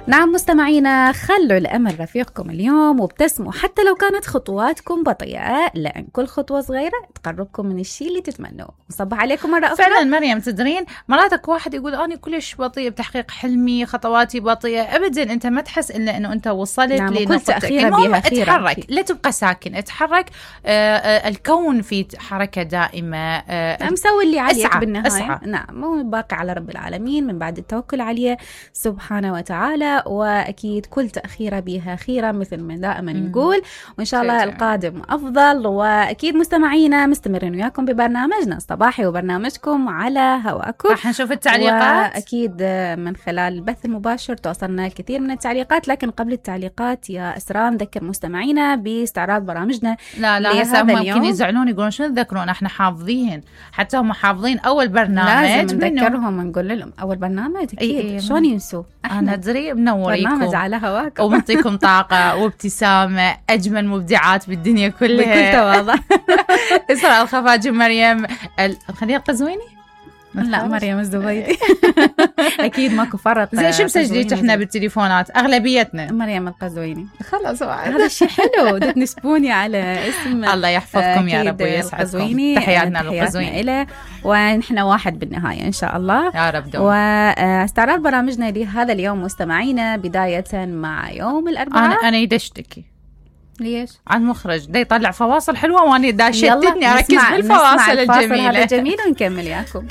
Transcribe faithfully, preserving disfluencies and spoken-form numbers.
نعم مستمعينا، خلوا الأمل رفيقكم اليوم وابتسموا حتى لو كانت خطواتكم بطيئة، لأن كل خطوة صغيرة تقربكم من الشيء اللي تتمنوه. وصبح عليكم مرة أخرى. فعلا مريم، تدرين مراتك واحد يقول أنا كلش بطيء بتحقيق حلمي، خطواتي بطيئة. أبدا، أنت ما تحس إلا أنه أنت وصلت نعم، لنقطتك. المهم اتحرك، لا تبقى ساكن، اتحرك. آه آه الكون في حركة دائمة. آه مسوي اللي عليك اسعى بالنهاية. اسعى. نعم، مو باقي على رب العالمين من بعد التوكل عليه سبحانه وتعالى. وأكيد كل تأخيرة بها خيرة مثل ما دائما نقول، وإن شاء الله القادم أفضل. وأكيد مستمعينا مستمرين وياكم ببرنامجنا الصباحي وبرنامجكم على هواكم. راح نشوف التعليقات، وأكيد من خلال البث المباشر توصلنا الكثير من التعليقات. لكن قبل التعليقات يا أسراء نذكر مستمعينا باستعراض برامجنا. لا لا هسه ممكن يزعلون يقولون شنو تذكرون، احنا حافظين، حتى هم حافظين أول برنامج. لازم نذكرهم ونقول لهم أول برنامج أكيد. إيه شلون ينسوا؟ أنا أدري منوريكم، برنامج على هواكم ومنطيكم طاقة وابتسامة، أجمل مبدعات بالدنيا كلها بكل تواضع. إسراء الخفاجي، مريم ال... خليها القزويني. لا مريم الزبيدي. أكيد ماكو فرق. زين شو مسجليت احنا بالتليفونات أغلبيتنا؟ مريم القزويني. خلاص هذا الشيء حلو. تنسبوني على اسم. الله يحفظكم يا رب ويسعدكم. تحياتنا للقزويني إله، ونحن واحد بالنهاية إن شاء الله يا رب دوم. واستعراض برامجنا لهذا اليوم مستمعينا، بداية مع يوم الأربعاء. أنا أنا يدشتكي. ليش؟ عن مخرج دا يطلع فواصل حلوة وأنا دا شتتني أركز بالفواصل الجميلة. هذا جميل ونكمل ياكم.